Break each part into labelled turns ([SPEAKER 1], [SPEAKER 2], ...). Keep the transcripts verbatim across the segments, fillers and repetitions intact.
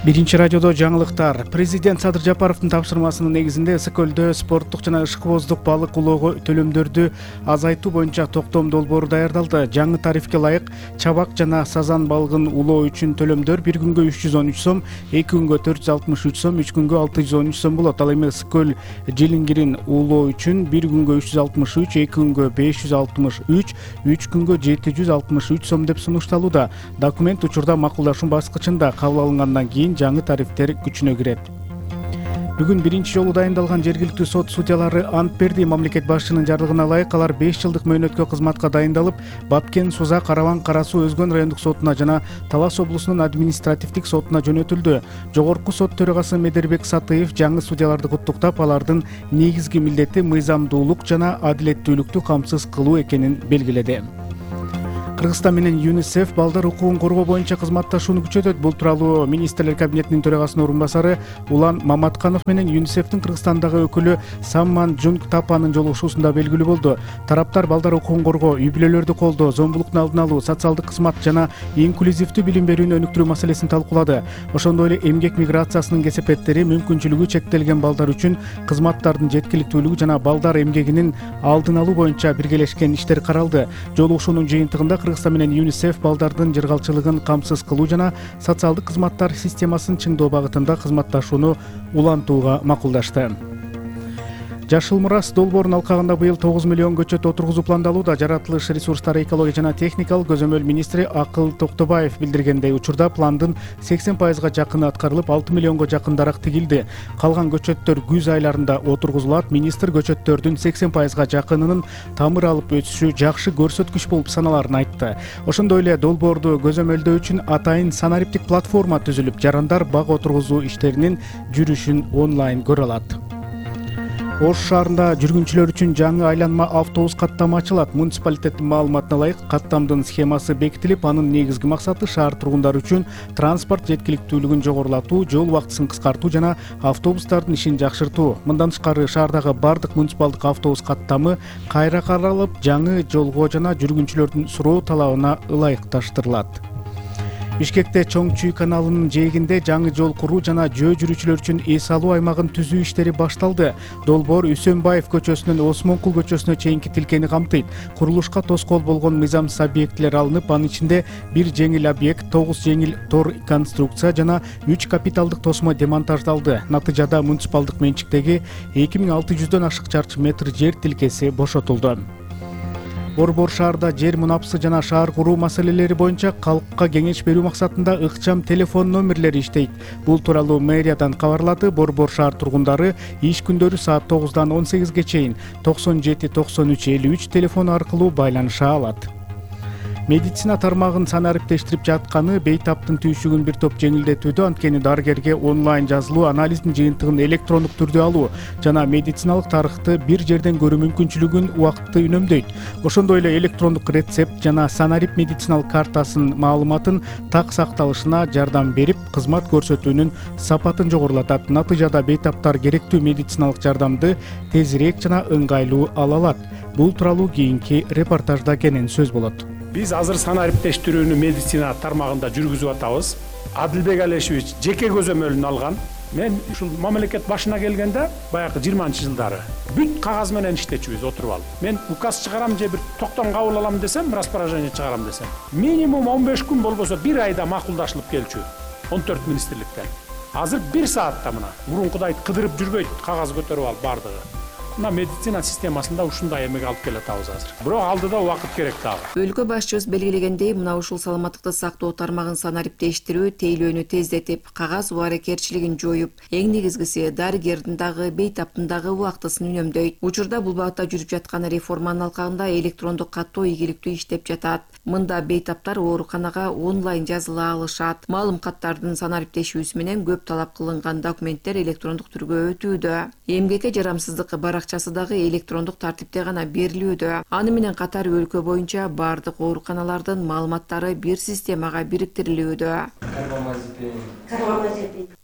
[SPEAKER 1] Биринчи радиодо жаңылыктар. Президент Садыр Жапаровдун тапшырмасынын негизинде Ысык көлдө спорттук жана ышкыбоздук балык улоого төлөмдөрдү азайтуу боюнча токтом долбоору даярдалды. Жаңы тарифке ылайык чабак жана сазан балыгын улоо үчүн төлөмдөр бир күнгө үч жүз он үч сом, эки күнгө төрт жүз алтымыш үч сом, үч күнгө алты жүз он үч сом болот. Ал эми Ысык көл жилингирин улоо үчүн бир күнгө үч жүз алтымыш үч, эки күнгө беш жүз алтымыш үч, үч күнгө жети жүз алтымыш үч сом деп сунушталууда. Документ учурда макулдашуу баскычында, кабыл алынгандан кийин жаңы тарифтер күчүнө кирет. Бүгүн биринчи жолу дайындалган жергиликтүү сот судьялары ант берди. Мамлекет башчынын жарлыгына ылайык алар беш жылдык мөөнөткө кызматка дайындалып, Бапкен, Суза, Карабан, Кара Суу өзгөн райондук сотуна жана Талас облусунун административдик сотуна жөнөтүлдү. Жогорку сот төрагасы Медербек Сатыев жаңы судьяларды куттуктап, алардын негизги милдети мыйзамдуулук жана адилеттүүлүктү камсыз кылуу экенин белгиледи. Кыргызстан менен ЮНИСЕФ балдар укугун коргоо боюнча кызматташууну күчөтөт. Бул тууралуу министрлер кабинетинин төрагасынын орун басары Улан Маматканов менен ЮНИСЕФтин Кыргызстандагы өкүлү Самман Джунг Тапанын жолугушуусунда белгилүү болду. Тараптар балдар укугун коргоо, үй-бүлөлөрдү колдоо, зомбулуктун алдын алуу, социалдык кызмат жана инклюзивдүү билим берүүнү өнүктүрүү маселесин талкуулады. Ошондой эле эмгек миграциясынын кесепеттери, мүмкүнчүлүгү чектелген балдар үчүн кызматтардын жеткиликтүүлүгү жана балдар эмгегинин алдын алуу боюнча биргелешкен иштер каралды. Жолугушуунун жыйынтыгында Кыргызстан менен ЮНИСЕФ балдардын жыргалчылыгын камсыз кылуу жана социалдык кызматтар системасын чыңдоо багытында кызматташууну улантууга макулдашты. Жашыл мурас долбоорунун алкагында быйыл тогуз миллион көчөт отургузуу пландалууда. Жаратылыш ресурстары, экология жана техникалык көзөмөл министри Акыл Токтобаев билдиргендей, учурда пландын сексен пайызга жакыны аткарылып, алты миллионго жакын дарак тигилди. Калган көчөттөр күз айларында отургузулат. Министр көчөттөрдүн сексен пайызга жакынынын тамыр алып өсүшү жакшы көрсөткүч болуп саналарын айтты. Ошондой эле долбоорду көзөмөлдөө үчүн атайын санариптик платформа түзүлүп, жарандар бак отургузуу иштеринин жүрүшүн онлайн көрө алат. Ош шаарында жүргүнчүлөр үчүн жаңы айланма автобус каттамы ачылат. Муниципалитеттин маалыматына ылайык, каттамдын схемасы бекитилип, анын негизги максаты шаар тургундары үчүн транспорт жеткиликтүүлүгүн жогорулатуу, жол убактысын кыскартуу жана автобустардын ишин жакшыртуу. Мындан тышкары, шаардагы бардык муниципалдык автобус каттамы кайра каралып, жаңы жолго жана жүргүнчүлөрдүн суроо талабына ылайыкташтырылат. Бишкекте Чоң Чүй каналынын жээгинде жаңы жол куруу жана жөө жүрүүчүлөр үчүн эс алуу аймагын түзүү иштери башталды. Долбоор Үсөнбаев көчөсүнөн Осмонкул көчөсүнө чейинки тилкени камтыйт. Курулушка тоскоол болгон мыйзамсыз объектилер алынып, анын ичинде бир жеңил объект, тогуз жеңил тор конструкция жана үч капиталдык тосмо демонтаждалды. Натыйжада муниципалдык менчиктеги эки миң алты жүздөн ашык чарчы метр жер тилкеси бошотулду. Борбор шаарда жер мунапысы жана шаар куруу маселелери боюнча калкка кеңеш берүү максатында ыкчам телефон номерлери иштейт. Бул тууралуу мэриядан кабарлады. Борбор шаар тургундары иш күндөрү саат тогуздан он сегизге чейин токсон жети токсон үч элүү үч телефону аркылуу байланыша алат. Медицина тармагын санариптештирип жатканы бейтаптын түйшүгүн бир топ жеңилдетүүдө, анткени дарыгерге онлайн жазылуу, анализдин жыйынтыгын электрондук түрдө алуу жана медициналык тарыхты бир жерден көрүү мүмкүнчүлүгүн убакытты үнөмдөйт. Ошондой эле электрондук рецепт жана санарип медициналык картасынын маалыматын так сакталышына жардам берип, кызмат көрсөтүүнүн сапатын жогорулатат. Натыйжада бейтаптар керектүү медициналык жардамды тезирээк жана ыңгайлуу ала алат. Бул тууралуу кийинки репортажда кенен сөз болот.
[SPEAKER 2] Биз азыр санариптештирүүнү медицина тармагында жүргүзүп атабыз. Адилбек Алешевич жеке көзөмөлүн алган. Мен ушул мамлекет башына келгенде, баягы жыйырманчы жылдары бүт кагаз менен иштечүбүз отуруп алып. Мен указ чыгарам же бир токтом кабыл алам десем, распоряжение чыгарам десем, минимум он беш күн болбосо бир айда макулдашылып келчү. он төрт министрликтен. Азыр бир саатта мына мурункудай кыдырып жүрбөйт, кагаз көтөрүп алып бардыгы. Мына медицина системасында ушундай эмеге алып келатабыз азыр. Бирок алдыда убакыт керек дагы.
[SPEAKER 3] Өлкө башчыбыз белгилегендей, мына ушул саламаттыкты сактоо тармагын санариптештирүү тейлөөнү тездетип, кагаз убарекерчилигин жоюп, эң негизгиси дарыгердин дагы бейтаптын дагы убактысын үнөмдөйт. Учурда бул багытта жүрүп жаткан реформанын алкагында электрондук каттоо ийгиликтүү иштеп жатат. Мында бейтаптар ооруканага онлайн жазыла алышат. Маалым каттардын санариптешүүсү менен көп талап кылынган документтер электрондук түргө өтүүдө. Эмгекке жарамсыздык баракчасы дагы электрондук тартипте гана берилүүдө. Аны менен катар өлкө боюнча бардык ооруканалардын маалыматтары бир системага бириктирилүүдө.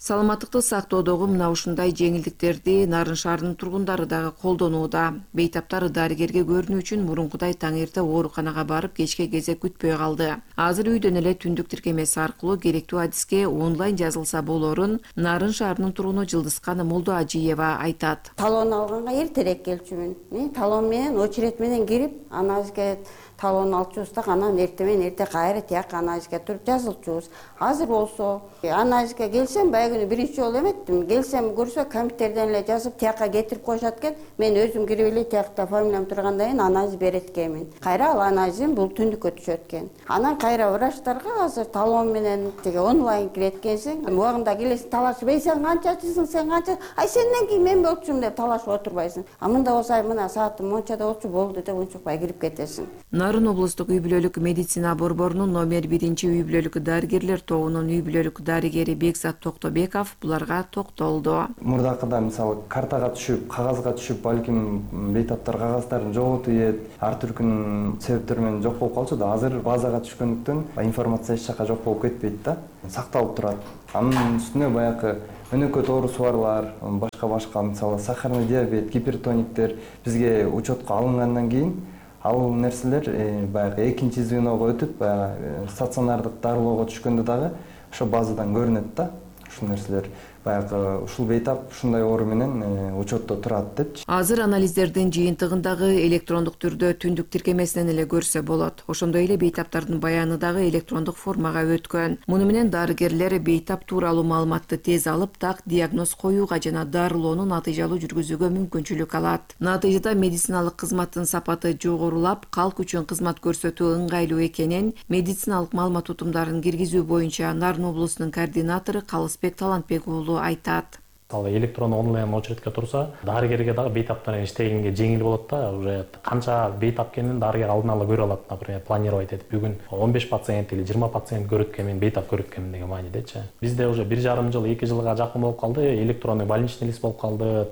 [SPEAKER 3] Саламаттыкты сактоодогу мына ушундай жеңилдиктерди Нарын шаарынын тургундары дагы колдонууда. Бейтаптар дарыгерге көрүнүү үчүн мурункудай таң эрте ооруканага барып кечке кезек күтпөй калды. Азыр үйдөн эле түндүк тиркемеси аркылуу керектүү адиске онлайн жазылса болорун Нарын шаарынын тургуну Жылдызкан Молдоажиева айтат.
[SPEAKER 4] Талон алганга эртерээк келчүмүн. Мен талон менен очередь менен кирип, анализге талон алчубуз да, анан эртең менен эрте кайра тияк анализге туруп жазылчубуз. Азыр болсо анализге келсем, баягы биринчи жолу эметтим. Келсем көрсө компьютерден эле жазып тияка кетирип коюшат экен. Мен өзүм кирип эле тиякта фамилиям тургандан кийин анализ берет экенмин. Кайра ал анализим бул түндүккө түшөт экен. Анан кайра врачтарга азыр талон менен тиги онлайн кирет экенсиң. Убагында келесиң, талашып, "Эй, сен канчачысың, сен канча? Ай, сенден кийин мен болчумун" деп талашып отурбайсың. А мында болсо мына саатым мончада болчу болду деп унчукпай кирип кетесиң.
[SPEAKER 3] Нарын облустук үй бүлөлүк медицина борборунун номер биринчи үй бүлөлүк дарыгерлер тобунун үй бүлөлүк дарыгери Бекзат Токтобеков буларга токтолду.
[SPEAKER 5] Мурдакыда мисалы картага түшүп, кагазга түшүп, балким бейтаптар кагаздарын жоготуп, ар түркүнүн себептери менен жок болуп калчу да. Азыр базага түшкөндүктөн информация эч жака жок болуп кетпейт да. Сакталып турат. Анын үстүнө баягы өнөкөт оорусу барлар, башка башка мисалы сахарный диабет, гипертониктер бизге учетко алынгандан кийин ал нерселер баягы экинчи звеного өтүп, баягы стационардык дарылоого түшкөндө дагы ошо базадан көрүнөт да. Ушул нерселер баягы ушул бейтап ушундай оору менен учетто турат депчи.
[SPEAKER 3] Азыр анализдердин жыйынтыгын дагы электрондук түрдө түндүк тиркемесинен эле көрсө болот. Ошондой эле бейтаптардын баяны дагы электрондук формага өткөн. Муну менен дарыгерлер бейтап тууралуу маалыматты тез алып, так диагноз коюуга жана дарылоону натыйжалуу жүргүзүүгө мүмкүнчүлүк алат. Натыйжада медициналык кызматтын сапаты жогорулап, калк үчүн кызмат көрсөтүү ыңгайлуу экенин медициналык маалымат тутумдарын киргизүү боюнча Нарын облусунун координатору Калысбек Талантбек уулу айтат.
[SPEAKER 6] Электрондук онлайн очередке турса, дарыгерге дагы бейтап менен иштегенге жеңил болот да. Уже канча бейтап экенин дарыгер алдын ала көрө алат, например, планировать этип, бүгүн он беш пациент или жыйырма пациент көрөт экенмин, бейтап көрөт экенмин деген маанидечи. Бизде уже бир жарым жыл, эки жылга жакын болуп калды, электронный больничный лист болуп калды.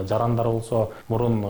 [SPEAKER 6] Жарандар болсо мурун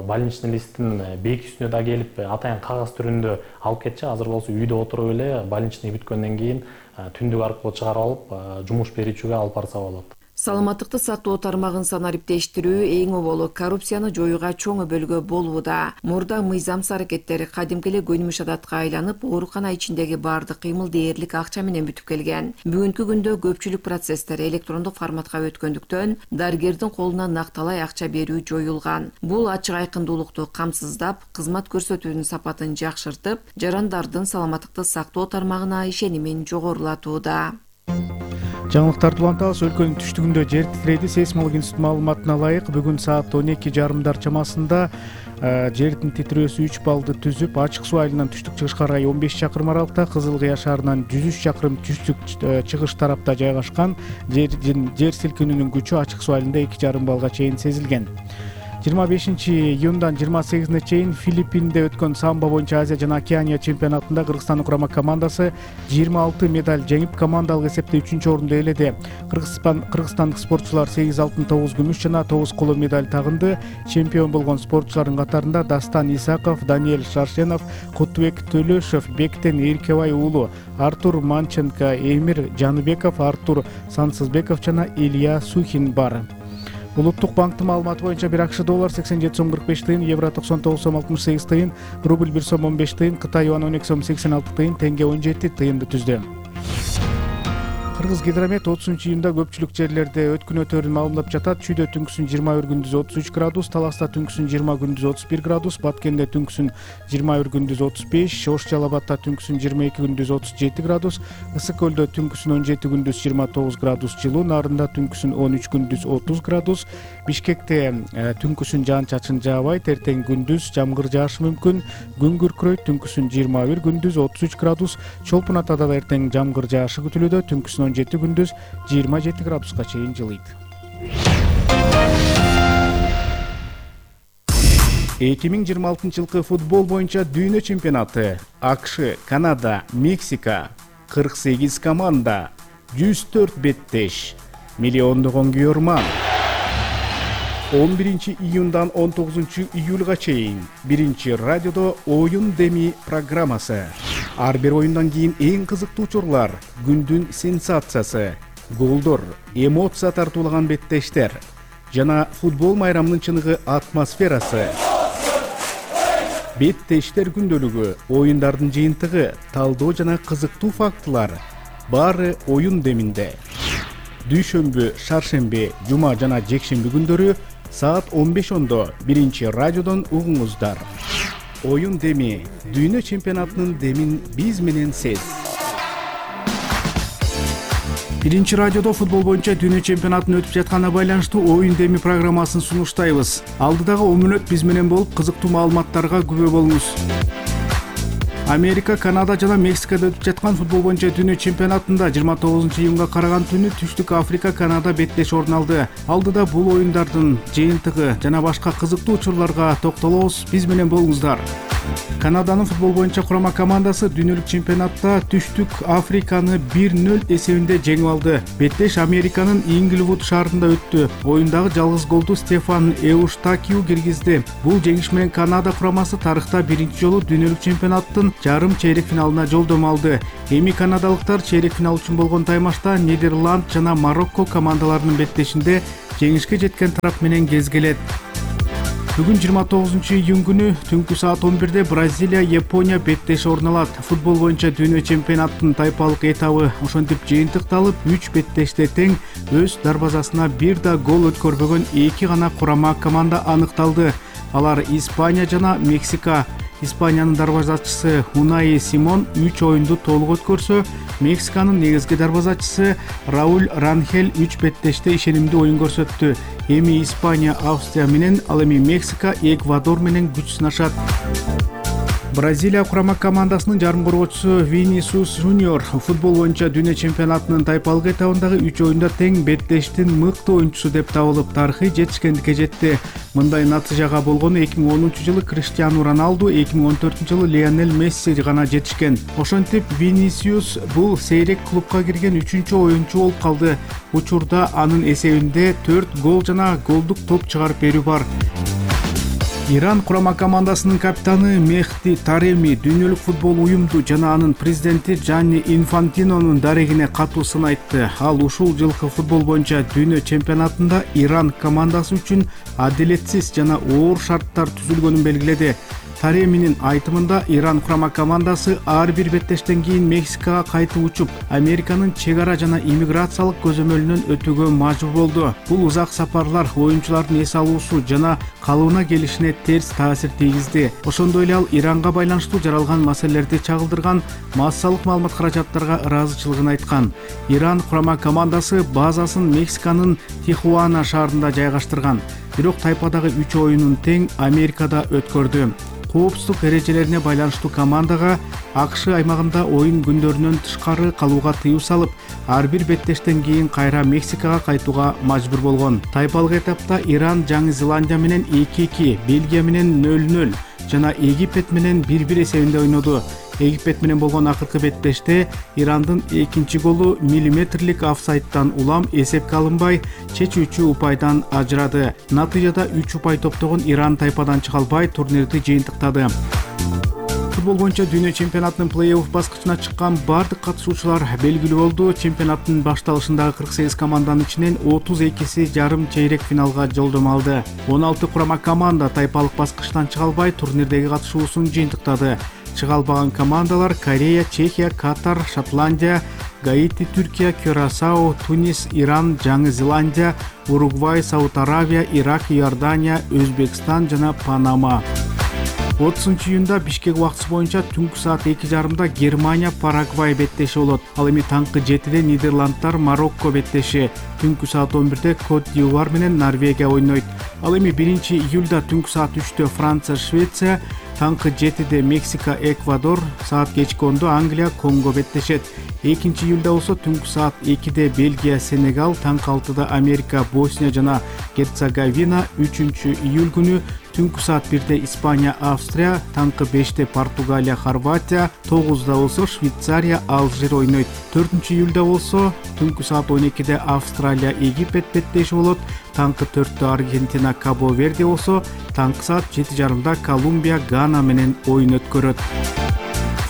[SPEAKER 6] больничный листтин бейки үстүнө да келип, атайын кагаз түрүндө алып кетчи. Азыр болсо үйдө отуруп эле больничный бүткөндөн кийин түндүк аркылуу чыгарып алып, жумуш берүүчүгө алып барса болот.
[SPEAKER 3] Саламаттыкты сактоо тармагын санариптештирүү эң оболу коррупцияны жоюуга чоң өбөлгө болууда. Мурда мыйзамсыз аракеттер кадимки эле көнүмүш адатка айланып, оорукана ичиндеги баардык кыймыл дээрлик акча менен бүтүп келген. Бүгүнкү күндө көпчүлүк процесстер электрондук форматка өткөндүктөн дарыгердин колуна накталай акча берүү жоюлган. Бул ачык айкындуулукту камсыздап, кызмат көрсөтүүнүн сапатын жакшыртып, жарандардын саламаттыкты сактоо тармагына ишенимин жогорулатууда.
[SPEAKER 1] Жаңылыктарды улантабыз. Өлкөнүн түштүгүндө жер титирейди. Сейсмология институту маалыматына ылайык бүгүн саат он эки жарымдар чамасында жердин титирөөсү үч баллды түзүп, ачык суу айылынан түштүк чыгыш карай он беш чакырым аралыкта, Кызыл Кыя шаарынан жүз үч чакырым түштүк чыгыш тарапта жайгашкан жер силкинүүнүн күчү ачык суу айылында эки жарым баллга чейин сезилген. жыйырма бешинчи июндан жыйырма сегизине чейин Филиппинде өткөн самбо боюнча Азия жана Океания чемпионатында Кыргызстандын курама командасы жыйырма алты медаль жеңип, командалык эсепте үчүнчү орунду ээледи. Кыргызстандык спортчулар сегиз алтын, тогуз күмүш жана тогуз коло медаль тагынды. Чемпион болгон спортчулардын катарында Дастан Исаков, Даниэль Шаршенов, Кутбек Төлөшев, Бектен Эркебай уулу, Артур Манченко, Эмир Жаныбеков, Артур Сансызбеков жана Илья Сухин бар. Улуттук банктын маалыматы боюнча бир АКШ доллар сексен жети сом кырк беш тыйын, евро токсон тогуз сом алтымыш сегиз тыйын, рубль бир сом он беш тыйын, Кытай юан он эки сом сексен алты тыйын, тенге он жети тыйынды түздү. Кыргыз гидромет отузунчу июнда көпчүлүк жерлерде өткүн өтөөрүн маалымдап жатат. Чүйдө түнкүсүн жыйырма бир, күндүз отуз үч градус, Таласта түнкүсүн жыйырма, күндүз отуз бир градус, Баткенде түнкүсүн жыйырма бир, күндүз отуз беш, Ош Жалал Абадта түнкүсүн жыйырма эки, күндүз отуз жети градус, Ысык Көлдө түнкүсүн он жети, күндүз жыйырма тогуз градус жылуу, Нарында түнкүсүн он үч, күндүз отуз градус, Бишкекте түнкүсүн жаан-чачын жаабайт, эртең күндүз жамгыр жаашы мүмкүн, күн күркүрөйт, түнкүсүн жыйырма бир, күндүз отуз үч градус, Чолпун Атада да эртең жамгыр жаашы күтүлүүдө, түнкүсүн он жети, күндүз жыйырма жети градуска чейин жылыйт. эки миң жыйырма алтынчы жылкы футбол боюнча дүйнө чемпионаты. АКШ, Канада, Мексика, кырк сегиз команда, жүз төрт беттеш, миллиондогон күйөрман. он биринчи июндан он тогузунчу июлга чейин биринчи радиодо оюн деми программасы. Ар бир оюндан кийин эң кызыктуу учурлар, күндүн сенсациясы, голдор, эмоция тартуулаган беттештер жана футбол майрамынын чыныгы атмосферасы. Беттештер күндөлүгү, оюндардын жыйынтыгы, талдоо жана кызыктуу фактылар баары оюн деминде. Дүйшөмбү, шаршемби, жума жана жекшемби күндөрү саат он беш ондо биринчи радиодон угуңуздар. Оюн деми, дүйнө чемпионатынын демин биз менен сез. Биринчи радиодо футбол боюнча дүйнө чемпионатын өтүп жатканына байланыштуу оюн деми программасын сунуштайбыз. Алдыдагы он мүнөт биз менен болуп, кызыктуу маалыматтарга күбө болуңуз. Америка, Канада жана Мексикада өтүп жаткан футбол боюнча дүйнө чемпионатында жыйырма тогузунчу июнга караган түнү Түштүк Африка Канада беттеш орун алды. Алдыда бул оюндардын жыйынтыгы жана башка кызыктуу учурларга токтолобуз. Биз менен болуңуздар. Канаданын футбол боюнча курама командасы дүйнөлүк чемпионатта Түштүк Африканы бир нөл эсебинде жеңип алды. Беттеш Американын Инглвуд шаарында өттү. Оюндагы жалгыз голду Стефан Эуштакиу киргизди. Бул жеңиш менен Канада курамасы тарыхта биринчи жолу дүйнөлүк чемпионаттын жарым чейрек финалына жолдомо алды. Эми канадалыктар чейрек финал үчүн болгон таймашта Нидерланд жана Марокко командаларынын беттешинде жеңишке жеткен тарап менен кезгелет. Бүгүн жыйырма тогузунчу июнь күнү түнкү саат он бирде Бразилия Япония беттеши орун алат. Футбол боюнча дүйнө чемпионатынын тайпалык этабы ошентип жыйынтыкталып, үч беттеште тең өз дарбазасына бир да гол өткөрбөгөн эки гана курама команда аныкталды. Алар Испания жана Мексика. Испаниянын дарбазачысы Унаи Симон үч оюнду толук өткөрсө, Мексиканын негизги дарбазачысы Рауль Ранхель үч беттеште ишенимдүү оюн көрсөттү. Эми Испания Австрия менен, ал эми Мексика Эквадор менен күч сынашат. Бразилия курама командасынын жарым коргоочусу Винисиус Жуниор футбол боюнча дүйнө чемпионатынын тайпалык этабындагы үч оюнда тең беттештин мыкты оюнчусу деп табылып, тарыхый жетишкендикке жетти. Мындай натыйжага болгону эки миң онунчу жылы Криштиану Роналду, эки миң он төртүнчү жылы Лионель Месси гана жетишкен. Ошентип Винисиус бул сейрек клубка кирген үчүнчү оюнчу болуп калды. Учурда анын эсебинде төрт гол жана голдук топ чыгарып берүү бар. Иран курама командасынын капитаны Мехди Тареми дүйнөлүк футбол уюмду жана анын президенти Джанни Инфантинонун дарегине катуу сын айтты. Ал ушул жылкы футбол боюнча дүйнө чемпионатында Иран командасы үчүн адилетсиз жана оор шарттар түзүлгөнүн белгиледи. Тареминин айтымында Иран курама командасы ар бир беттештен кийин Мексикага кайтып учуп, Американын чек ара жана иммиграциялык көзөмөлүнөн өтүүгө мажбур болду. Бул узак сапарлар оюнчулардын эс алуусу жана калыбына келишине терс таасир тийгизди. Ошондой эле ал Иранга байланыштуу жаралган маселелерди чагылдырган массалык маалымат каражаттарга ыраазычылыгын айткан. Иран курама командасы базасын Мексиканын Тихуана шаарында жайгаштырган. Бирок тайпадагы үч оюнун тең Америкада өткөрдү. Коопсуздук эрежелерине байланыштуу командага АКШ аймагында оюн күндөрүнөн тышкары калууга тыюу салып, ар бир беттештен кийин кайра Мексикага кайтууга мажбур болгон. Тайпалык этапта Иран Жаңы Зеландия менен эки эки, Бельгия менен нөл нөл жана Египет менен бир бир эсебинде ойноду. Египет менен болгон акыркы беттеште Ирандын экинчи голу миллиметрлик офсайдтан улам эсепке алынбай, чечүүчү упайдан ажырады. Натыйжада үч упай топтогон Иран тайпадан чыга албай турнирди жыйынтыктады. Футбол боюнча дүйнө чемпионатынын плей-офф баскычына чыккан бардык катышуучулар белгилүү болду. Чемпионаттын башталышындагы кырк сегиз команданын ичинен отуз экиси жарым чейрек финалга жолдомо алды. он алты курама команда тайпалык баскычтан чыга албай турнирдеги катышуусун жыйынтыктады. Чыга албаган командалар Корея, Чехия, Катар, Шотландия, Гаити, Түркия, Кюрасао, Тунис, Иран, Жаңы Зеландия, Уругвай, Сауд Аравия, Ирак, Иордания, Өзбекстан жана Панама. отузунчу июнда Бишкек убактысы боюнча түнкү саат эки жарымда Германия Парагвай беттеши болот. Ал эми таңкы жетиде Нидерландтар Марокко беттеши, түнкү саат он бирде Кот д'Ивуар менен Норвегия ойнойт. Ал эми биринчи июлда түнкү саат үчтө Франция Швеция, таңкы жетиде Мексика Эквадор, саат кечки ондо Англия Конго беттешет. экинчи июлда болсо түнкү саат экиде Бельгия Сенегал, таңкы алтыда Америка Босния жана Герцеговина, үчүнчү июль күнү түнкү саат бирде Испания Австрия, таңкы беште Португалия Хорватия, тогузда болсо Швейцария Алжир ойнойт. төртүнчү июлда болсо түнкү саат он экиде Австралия Египет беттеши болот, таңкы төрттө Аргентина Кабо Верде болсо, таңкы саат жети жарымда Колумбия Гана менен оюн өткөрөт.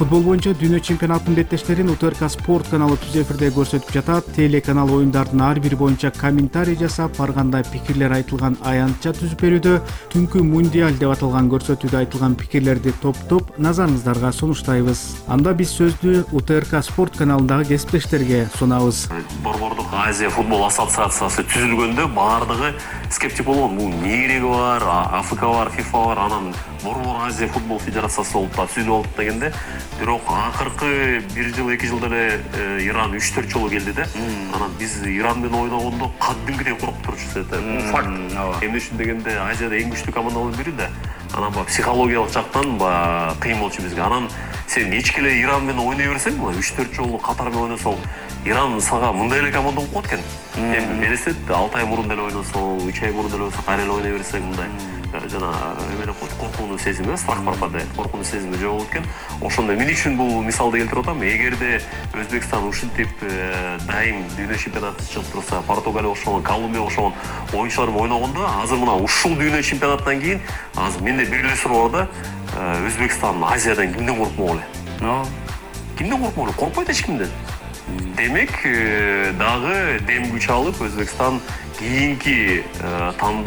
[SPEAKER 1] Футбол боюнча дүйнө чемпионатынын беттештерин УТРК спорт каналы түз эфирде көрсөтүп жатат. Телеканал оюндардын ар бири боюнча комментарий жасап, ар кандай пикирлер айтылган аянтча түзүп берүүдө. Түнкү мундиаль деп аталган көрсөтүүдө айтылган пикирлерди топтоп назарыңыздарга сунуштайбыз. Анда биз сөздү УТРК спорт каналындагы кесиптештерге сунабыз.
[SPEAKER 7] Борбордук Азия футбол ассоциациясы түзүлгөндө баардыгы скептик болгон. Бул не кереги бар, АФК бар, ФИФА бар, анан Борбор Азия футбол федерациясы болуп да түзүлүп алып дегенде, бирок акыркы бир жыл, эки жылда эле Иран үч төрт жолу келди да. Анан биз Иран менен ойногондо кадимкидей коркуп турчубуз да. Бул факт. Эмне үчүн дегенде, Азияда эң күчтүү командалардын бири да. Анан баягы психологиялык жактан баягы кыйын болчу бизге. Анан сен эч эле Иран менен ойной берсең, үч төрт жолу катар менен ойносоң, Иран сага мындай эле команда болуп калат экен. Эми элестет, алты ай мурун деле ойносоң, үч ай мурун деле ойносоң, кайра эле ойной берсең мындай жана эмеле коркунучу сезими, страх бар да, коркунучу сезими жок болот экен. Ошондо эмне үчүн бул мисалды келтирип атам? Эгерде Өзбекстан ушинтип дайым дүйнө чемпионатына чыгып турса, Португалия ошол, Колумбия ошол оюнчулар менен ойногондо, азыр мына ушул дүйнө чемпионатынан кийин азыр менде бир эле суроо бар да, Өзбекстан Азиядан кимден коркмок эле? Кимден коркмок эле? Коркпойт эч кимден. Демек, дагы дем күч алып Өзбекстан кийинки тандоо